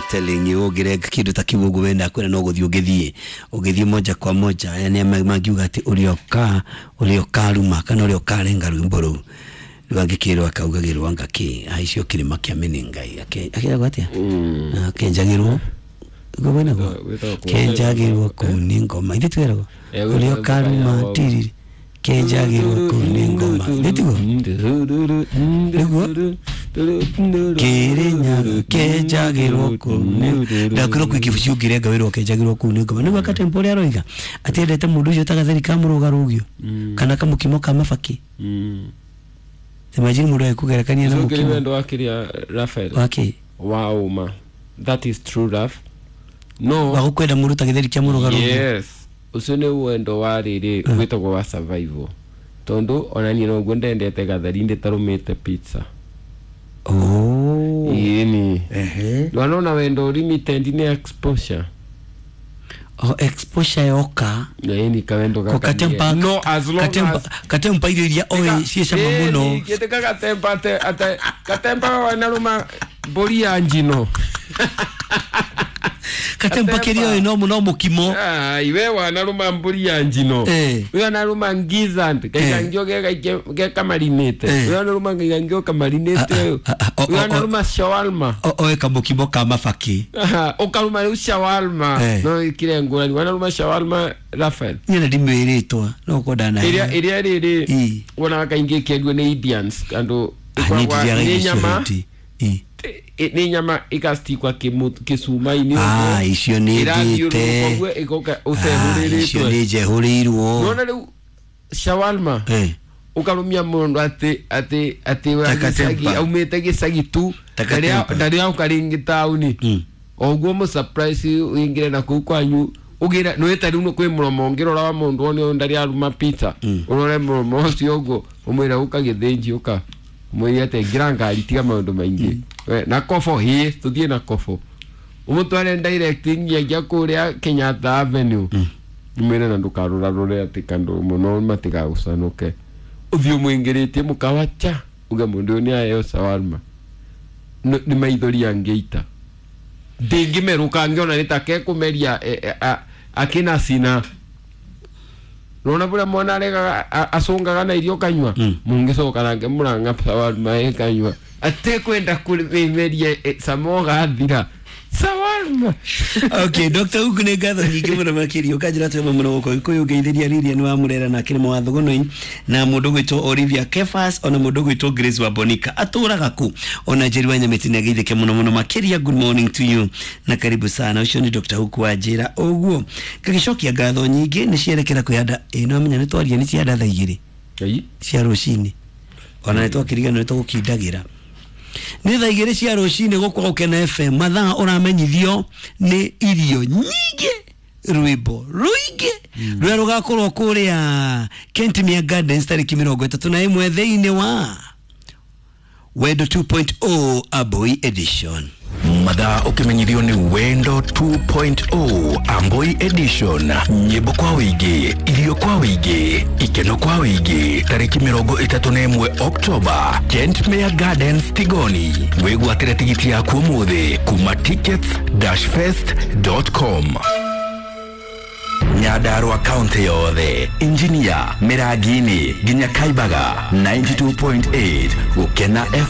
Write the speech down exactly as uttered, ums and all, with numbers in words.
Telling you ũngĩrenga kĩndũ ta kĩu ũguo wenda kwĩra no gũthiĩ ũngĩthiĩ ũngĩthiĩ moja kwa moja. Aya nĩ mangiuga atĩ ũrĩa ũka ũrĩa ũkaruma kana ũrĩa ũkarenga rwĩmbo rũu rĩu angĩkĩrwo akaugagĩrwo anga kĩ aicio kĩrĩma kĩa Menengai akĩragwo atĩa akenjagĩrwo gwĩtagwo kenjagĩrwo kũu nĩ ngoma ithe twĩragwo ũrĩa ũkaruma tiriri kenjagĩrwo kũu nĩ ngoma ithe tiguo nĩguo Kĩrĩnyaga kenjagĩrwo kũu nĩ ndakwĩrwo kwĩ kĩbuci ũngĩrenga wĩrwo kenjagĩrwo kũu nĩ ngoma nĩguo Katempa ũrĩa aroiga atĩ endete mũndũ ũcio ta gatheri ka mũrũgarũgio kana kamũkimo ka mabaki. Imagine mũndũ agĩkũgerekania na mũkimo wendo wa kĩrĩa Raphael wake wa ũma, that is true love. No wa gũkwenda mũndũ ta gĩtheri kĩa mũrũgarũgio. Yes, ũcio nĩ wendo wa rĩrĩ wĩtagwo wa survival tondũ ona niĩ noguo ndendete gatheri ndĩtarũmĩte pizza. Oh. Ĩni. Ehe. Ndwanona wendo limited nĩ exposure. Oh, exposure yoka. Ĩni kawendo gaka. Katempa. No, as long Katempa, as Katempa irio iria oĩ ciĩ cama mũno. Gĩtĩka Katempa ate ate Katempa wanarũma mbũri ya njino. Katempa kĩrĩa oĩ no mũno mũkimo. Ah, iwe wanarũma mbũri ya njino. Eh. We wanarũma gizzard gaikangio ge kamarinĩte. Eh. We wanarũma gaikangio kamarinĩte. Ah, ah, ah, We wanarũma shawarma. Oĩ kamũkimo ka mabaki. Ukaruma rĩu shawarma. Eh. No ikire ngũrani wanarũma shawarma Raphael. Niĩ ndimwĩrĩtwa no kwenda na Ĩrĩa ĩrĩa rĩrĩ Ĩ. wonaga kaingĩ ĩkĩendio nĩ Indians andũ Ah, niĩ ndirĩaga nĩ irio cia nyama hĩndĩ. Ĩ. ĩ- nĩ nyama ĩgastikwa kĩcuma-inĩ Ah, icio nĩ ndĩte. ũguo ĩgoka Ah, icio ũcehũrĩrĩtwe nĩ njehũrĩirwo. nona rĩu shawarma Eh. ukarumia mundu ati ati ati wa Ta Katempa. gĩcagi aumĩte gĩcagi tu Ta Katempa. ndarĩ auka rĩngĩ taũni Mm. oguo mũ surprise ũingĩre na kũu kwanyu ũgĩre nĩwĩta rĩu kwĩ mũromo ũngĩrora wa mũndũ one ũyũ ndarĩ aruma pizza Mm. ũrore mũromo ũcio ũguo ũmwĩre ũka gĩthĩnji ũka ũmwĩre atĩ ingĩra ngari tiga maũndũ maingĩ We, na kobo hĩ tũthiĩ na kobo ũmũtware direct nginyagia kũrĩa Kenyatta Avenue ũmwĩre na ndũkarũrarũre atĩ kandũ mũno matigagũcanũke ũthiĩ ũmũingĩrĩtie mũkawa cha uge mũndũ ũyũ nĩ aheo shawarma Nĩ- nĩ maithori angĩita ndĩngĩmerũka angĩona nĩ ta kekũmeria e, e, a- akĩna cina nona bũrĩa mwana aregaga a- acũngaga na irio kanyua Mm. mũngĩcoka nake mũranga shawarma ĩ kanyua atekwenda kũmeria cama ũgathira shawarma. Okay, Doctor Huku nĩ ngatho nyingĩ mũno makĩria ũkanjĩra twema mũno gũkũ Gĩkũyũ ngeithĩria Lilian wa Mũrera na Kĩrĩma wa Thogonoi na mũndũ ũgwĩtwo Olivia Kefas ona mũndũ ũgwĩtwo Grace wa Bonika atũraga kũ ona Njeri wa Nyamĩtĩ nĩ ageithĩke mũno mũno makĩria. Good morning to you na karibu sana. Ũcio nĩ Doctor Huku wa njĩra ũguo ngagĩcokia ngatho nyingĩ nĩ cierekera kwĩhanda ĩ no amenya nĩ twaria nĩ cianda thaa igĩrĩ Ĩi. cia rũcinĩ ona nĩ twakĩriganĩrwo nĩ tũgũkindagĩra nĩ thaa igĩrĩ cia rũcinĩ gũkũ Gũkena F M mathaa ũramenyithio nĩ irio nyingĩ rwĩmbo rũingĩ rũrĩa rũgakorwo kũrĩa Kentimia Gardens tarĩki mĩrongo ĩtatũ na ĩmwe thĩinĩ wa Wendo two point oh Aboi Edition. Mathaa ũkĩmenyithio nĩ Wendo two point oh Amboi Edition. Nyĩmbo kwa wĩingĩ, irio kwa wĩingĩ, ikeno kwa wĩingĩ. Tarĩki mĩrongo ĩtatũ na ĩmwe Oktoba, Kentmere Gardens Tigoni. Wĩgwatĩre tigiti yaku ũmũthĩ kuma tickets dash fest dot com. Nyandarua kaunti yothe, Injinia, Mĩrangi-inĩ nginya Kaibaga, ninety-two point eight Gũkena F M.